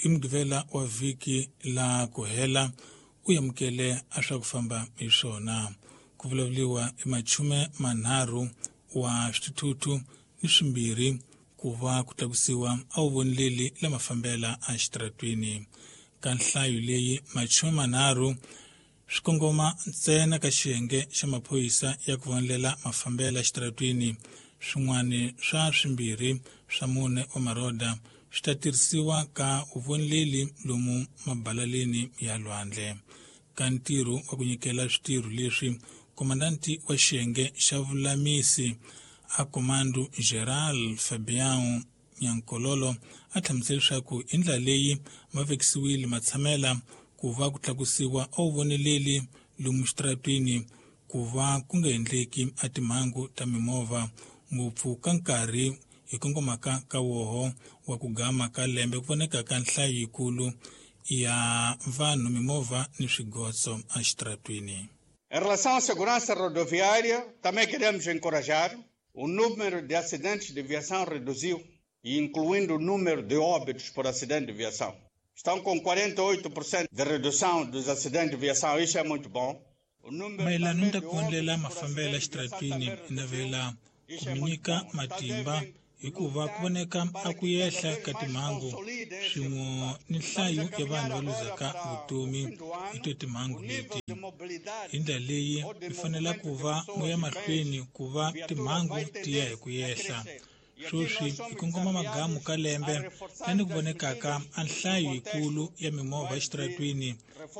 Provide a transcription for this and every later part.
Hi Mugqivela wa vhiki la ku hela u amukele a swa ku famba hi swona. Ku vulavuriwa i machume manharhu wa swithuthuthu ni swimbirhi ku va ku tlakusiwa a wu vonileli la mafambela exitaratweni. Ka nhlayo leyi machume manharhu swi kongoma ntsena ka xiyenge xa maphorisa ya ku vonelela mafambela exitaratweni. Swin'wana swa swimbirhi swa mune wa maroda swi ta tirhisiwa ka vuvoneleli lomu mabalaleni ya lwandle. Ka ntirho wa ku nyikela switirho leswi, komandanti wa xiyenge xa vulamisi a Comando Geral Fabião Nyankololo a hlamusela leswaku hi ndlela leyi ma vekisiwile matshamela ku va ku tlakusiwa a wu voneleli lomu xitaratwini ku va ku nga endleki a timhangu ta mimovha ngopfu ka nkarhi hi kongomaka ka woho wa ku gama ka lembe ku voneka ka nhlayo yikulu ya vanhu mimovha ni swigotso exitaratwini. Em relação à segurança rodoviária, também queremos encorajar. O número de acidentes de viação reduziu, incluindo o número de óbitos por acidente de viação. Estão com 48% de redução dos acidentes de viação, isso é muito bom. Mayelana ni ta ku vonela mafambelo exitaratwini hi navela ku mi nyika matimba hikuva ku voneka a ku yehla ka timhangu swin'we ni nhlayo ya vanhu va luzaka vutomi hi to timhangu leti. Hi ndlela leyi mi fanela ku va mu ya mahlweni ku va timhangu ti ya hi ku yehla. Sweswi hi kongoma magamu ka lembe lani ku vonekaka a nhlayo yikulu ya mimovha exitaratwini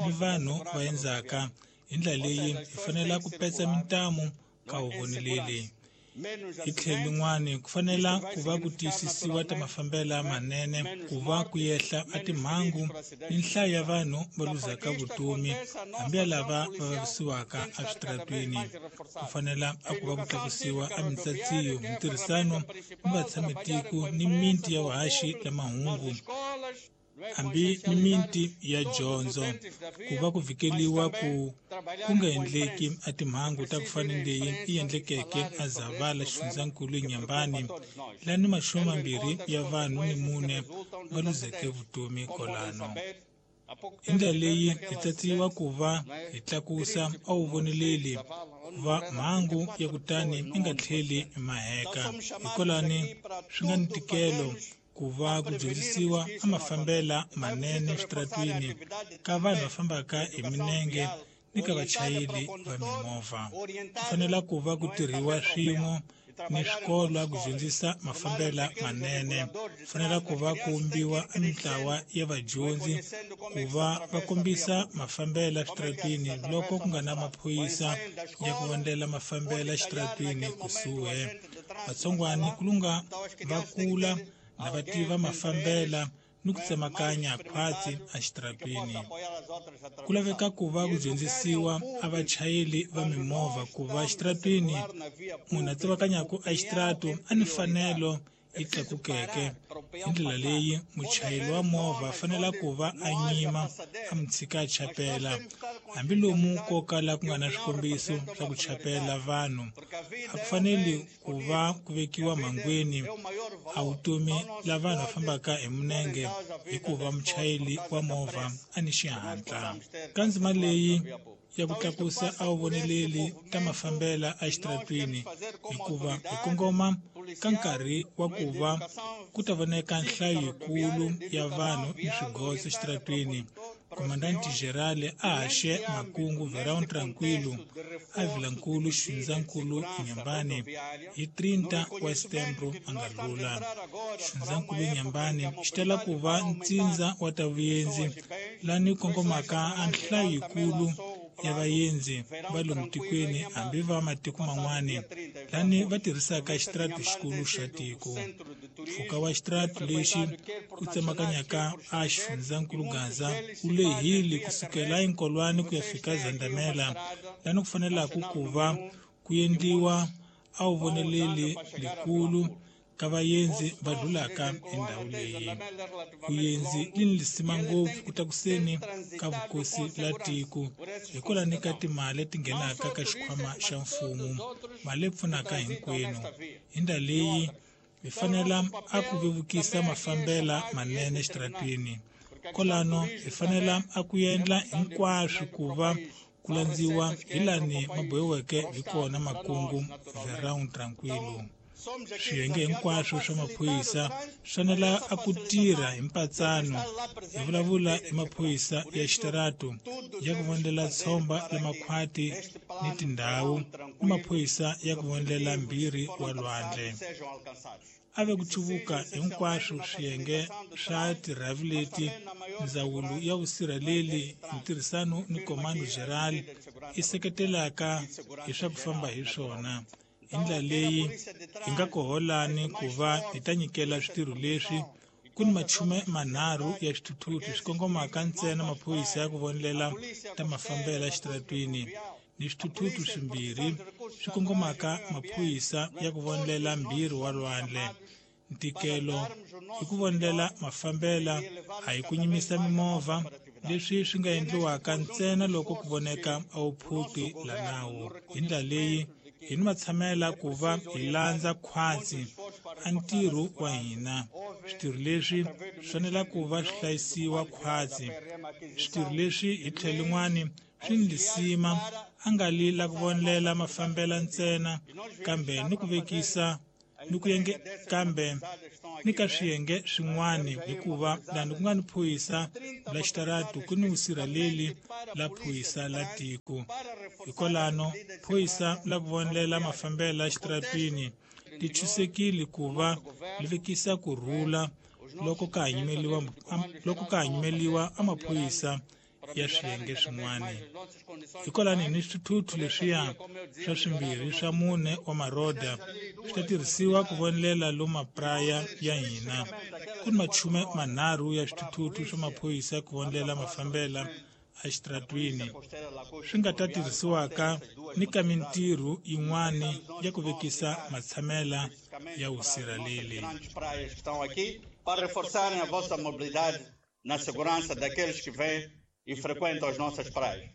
ni vanhu va endzaka. Hi ndlela leyi hi fanela ku petsa mintamu ka vuvoneleli. Hi tlhelo lin'wani ku fanela ku va ku tiyisisiwa ta mafambela manene ku va ku yehla a timhangu ni nhlayo ya vanhu va luzaka vutomi hambi ya lava va vavisiwaka eswitaratweni. Ku fanela a ku va ku tlakusiwa a mintsatsiyo, mintirhisano ni vatshamitiko ni miti ya vuhaxi la mahungu hambi ni miti ya dyondzo ku va ku vhikeliwa ku ku nga endleki a timhangu ta ku fana ni leyi yi endlekeke a Zavala xifundzankulu eNyambani lani machume mambirhi ya vanhu ni mune va luzeke vutomi kolano. Hi ndlela leyi hi tsatsiwa ku va hi tlakusa a wu voneleli va mhangu ya kutani yi nga tlheli maheka. Hikwalani swi nga ni ntikelo ku va ku dyondzisiwa a mafambela manene exitaratwini ka vanhu va fambaka hi minenge ni ka vachayeri va mimovha. Ku fanela ku va ku tirhiwa swin'we ni swikolo ku dyondzisa mafambela manene. Ku fanela ku va ku vumbiwa a mintlawa ya vadyondzi ku va va kombisa mafambela exitaratwini loko ku nga na maphorisa ya ku vonela mafambela exitaratwini kusuhi. Vatsongwani ku lunga va kula na va tiva mafambela ni ku tsemakanya khwatsi exitaratwini. Ku laveka ku va ku dyondzisiwa a vachayeri va mimovha ku va exitaratwini munhu a tsemakanyaka exitarato a ni mfanelo yi tlakukeke. Hi ndlela leyi muchayeri wa movha a fanela ku va a nyima a mi tshika a chapela hambi lomu ko kala ku nga na swikombiso swa ku chapela vanhu. A ku faneli ku va ku vekiwa mhangweni a vutomi la vanhu va fambaka hi minenge hikuva muchayeri wa movha a ni xihatla. Ka ndzima leyi ya ku tlakusa a wu voneleli ta mafambela exitaratwini hikuva hi kongoma ka nkarhi wa ku va ku ta voneka nhlayo yikulu ya vanhu ni swigotso exitaratwini. Komandanti Gerale a haxe makungu Verão Tranquilo a Vilankulu xifundzankulu Inhambane hi 30 wa Setembro a nga lula. Xifundzankulu Inhambane xi tala ku va ntsindza wa ta vuyenzi lani kongomaka a nhlayo yikulu ya vaendzi va lomu tikweni hambi va matiko man'wani lani va tirhisaka xitarati xikulu xa tiko. Mpfhuka wa xitarati lexi u tsemakanyaka a xifundzankulu Gaza wu lehile kusukela eNkolwane ku ya fika Zandamela lani ku fanelaka ku va ku endliwa a wu voneleli likulu ka vaendzi va dlulaka hi ndhawu leyi. Vuendzi li ni lisima ngopfu ku tlakuseni ka vukosi la tiko hikwalani ka timali leti nghenaka ka xikhwama xa mfumo, mali leyi pfunaka hinkwenu. Hi ndlela leyi hi fanela a ku vevukisa mafambela manene exitaratwini. Kwalano hi fanela a ku endla hinkwaswo ku va ku landziwa hi lani ma bohiweke hi kona makungu Verão Tranquilo. Swiyenge hinkwaswo swa maphorisa swi fanela a ku tirha hi mpatsano. Hi vulavula hi maphorisa ya xitaratu ya ku vonela tshomba la makhwati ni tindhawu ni maphorisa ya ku vonela mbirhi wa lwandle. A ve ku chuvuka hinkwaswo swiyenge swa tirhavi leti ndzawulo ya vusirheleli hi ntirhisano ni Comando Geral i seketelaka hi swa ku famba hi swona. Hi ndlela leyi hi nga koholani ku va hi ta nyikela switirho leswi ku ni 30 ya swithuthuthu swi kongomaka ntsena maphorisa ya ku vonelela ta mafambelo exitaratwini ni swithuthuthu swimbirhi swi kongomaka maphorisa ya ku vonelela mbirhi wa lwandle. Ntikelo hi ku vonelela mafambela a hi ku nyimisa mimovha, leswi swi nga endliwaka ntsena loko ku voneka a wu phuti la nawu. Hi ndlela leyi hi ni matshamela ku va hi landza khwatsi a ntirho wa hina. Switirho leswi swi fanela ku va swi hlayisiwa khwatsi. Switirho leswi hi tlhelo lin'wani swi ni lisima a nga li la ku vonelela mafambela ntsena, kambe ni ku vekisa ni ku yenge kambe ni ka swiyenge swin'wani, hikuva lani ku nga ni phorisa la xitaratu ku ni vusirheleli la phorisa la tiko. Hikwalano phorisa la ku vonelela mafambelo ya xitaratwini ti chusekile ku va li vekisa ku rhula loko ka ha nyimeliwa a maphorisa ya swiyenge swin'wana. Hikwalani ni swithuthuthu leswiya swa swimbirhi swa mune wa maroda swi ta tirhisiwa ku vonelela lomu mapraya ya hina. Ku ni 30 ya swithuthuthu swa maphorisa ku vonelela mafambela exitaratwini swi nga ta tirhisiwaka ni ka mintirho yin'wani ya ku vekisa matshamela ya vusirheleli. Para reforçarem a vossa mobilidade na segurança daqueles que vêm e frequentam as nossas praias.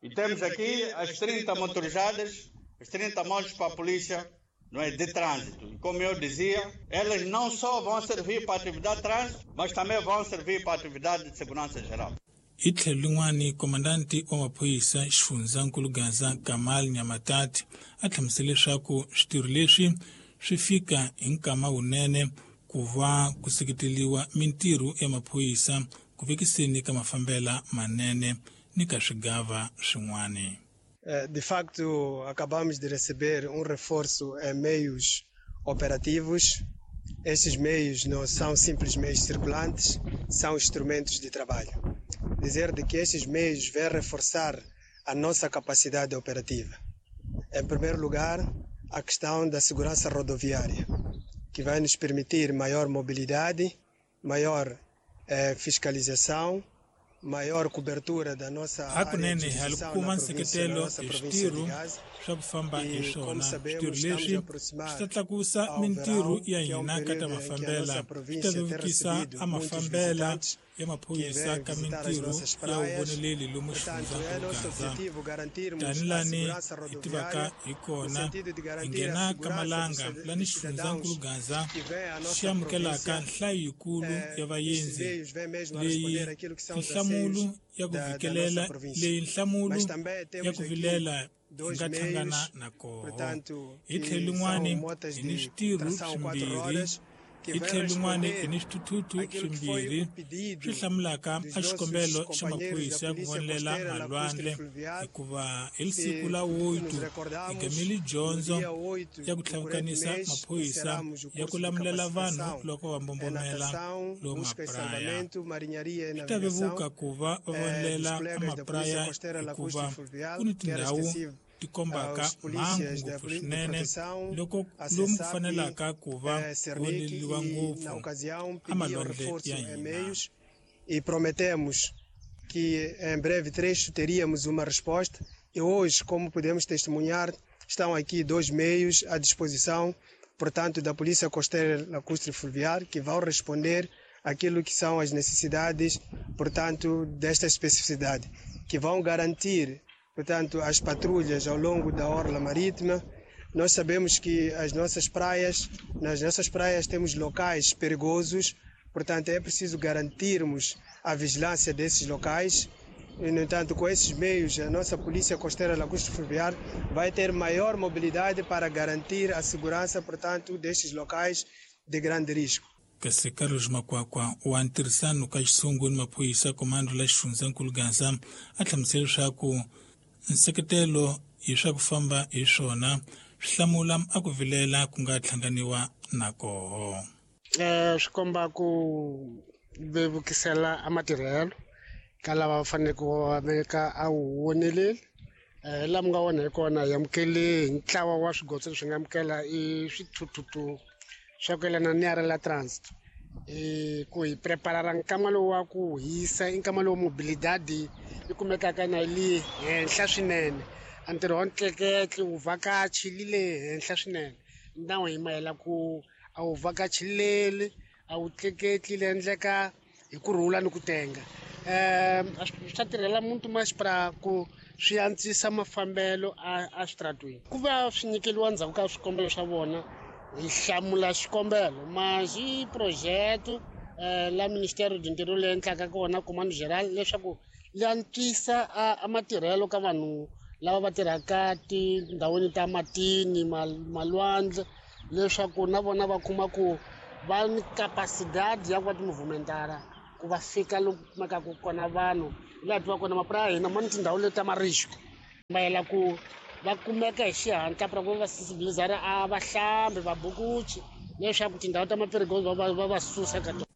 E temos aqui as 30 motorizadas, as 30 motos para a polícia, não é, de trânsito. E como eu dizia, elas não só vão servir para a atividade de trânsito, mas também vão servir para a atividade de segurança geral. Hi tlhelo lin'wani, komandanti wa maphorisa xifundzankulu Gaza Kamal Nyamatati a hlamusele leswaku switirho leswi swi fika hi nkama wunene ku va ku seketeliwa mintirho ya maphorisa ku vekiseni ka mafambela manene ni ka swigava swin'wani. De facto, acabamos de receber reforço em meios operativos. Estes meios não são simples meios circulantes, são instrumentos de trabalho. Dizer de que estes meios vêm reforçar a nossa capacidade operativa. Em primeiro lugar, a questão da segurança rodoviária, que vai nos permitir maior mobilidade, maior fiscalização, maior cobertura da nossa área de Hakunene hi jurisdição kuma na província, na nseketelo nossa hi província de switirho Gaza. swa ku famba hi E, como swona. sabemos, Switirho estamos a leswi swi aproximar ta tlakusa ao mintirho verão, ya que é hina ka ta período em que a mafambela, nossa swi ta província tem vevukisa recebido a muitos mafambela visitantes ya que maphorisa vêm ka visitar as mintirho nossas ya praias. vuvoneleli lomu Portanto, é xifundzankulu nosso Gaza. objetivo garantirmos a Tanilani segurança hi tivaka rodoviária, hi no kona sentido de hi garantir a nghena ka segurança dos, malanga lani dos cidadãos xifundzankulu Gaza que vêm à xi nossa amukelaka província. nhlayo yikulu ya Estes vaendzi meios vêm mesmo a leyi responder aquilo que são os nhlamulo anseios ya ku da nossa vikelela província. leyi nhlamulo Mas também ya temos ku aqui vilela hi dois nga hlangana meios, na koho. portanto, Hi tlhelo que são lin'wani motas hi ni de switirho tração quatro swimbirhi rodas, que hi vem tlhelo lin'wani hi responder ni swithuthuthu aquilo que foi swimbirhi o swi pedido hlamulaka dos a nossos xikombelo xa companheiros da maphorisa ya ku Polícia vonelela Costeira Lacustre malwandle Fluvial, hikuva hi siku que la nos 8 hi recordamos gamile no dyondzo dia 8 ya ku do corrente tlhavukanisa mês maphorisa encerramos o ya ku curso de lamulela vanhu capacitação loko va em mbombomela natação, lomu busca e mapraya. salvamento, marinharia e Swi ta navegação vevuka ku va va dos vonelela colegas da Polícia amapraya Costeira Lacustre hikuva Fluvial, ku ni que era tindhawu extensivo ti kombaka aos mhangu polícias da ngopfu de swinene proteção, loko a lomu ku CESAP, fanelaka ku va Cernic voneliwa e, na ngopfu ocasião, a pediam malwandle reforço ya em hina. meios e prometemos que em breve trecho teríamos uma resposta. E hoje, como podemos testemunhar, estão aqui dois meios à disposição, portanto, da Polícia Costeira Lacustre Fluvial, que vão responder aquilo que são as necessidades, portanto, desta especificidade, que vão garantir, portanto, as patrulhas ao longo da orla marítima. Nós sabemos que as nossas praias, nas nossas praias temos locais perigosos, Portanto, é preciso garantirmos a vigilância desses locais. E, no entanto, com esses meios, a nossa Polícia Costeira Lacustre Fluvial vai ter maior mobilidade para garantir a segurança, portanto, destes locais de grande risco. Kasi Carlos Makwakwa wa ntirhisano ka xisungu ni maphorisa komando la xifundzankulu Gaza a hlamusela leswaku nseketelo hi swa ku famba hi swona swi hlamula a ku vilela ku nga hlanganiwa na koho. Swi komba ku vevukisela a matirhelo ka lava va faneleke va veka a wu voneleli. Laha mi nga vona hi kona hi amukele hi ntlawa wa swigotso leswi nga amukela i swithuthuthu swa ku yelana ni la transit ku hi preparara nkama lowu wa ku hisa i nkama lowu mobilidade yi kumekaka na yi le henhla swinene. A ntirho wa ntleketli wu vhakachi li le henhla swinene nawu hi mayela ku a wu vhakachileli a wu tleketli le endleka hi ku rhula ni ku tenga. Swi ta tirhela muntu masipala ku swi antswisa mafambelo a switaratweni ku va swi nyikeliwa ndzhaku ka swikombelo swa vona hi hlamula xikombelo mas i projeto la Ministério do Interior leyi endlaka kona Comando Geral leswaku li antswisa a matirhelo ka vanhu lava va tirhaka tindhawini ta matini malwandle leswaku na vona va kuma ku va ni capacidade ya ku va timovumentara ku va fika loku kumekaka kona vanhu laha tiva kona mapurasi ya hina ma ni tindhawu leti ta marisco mayela ku va kumeka hi xihatla pra ku va sensibilizara a vahlambi vabukuchi leswaku tindhawu ta maperigozi va va susa ka tona.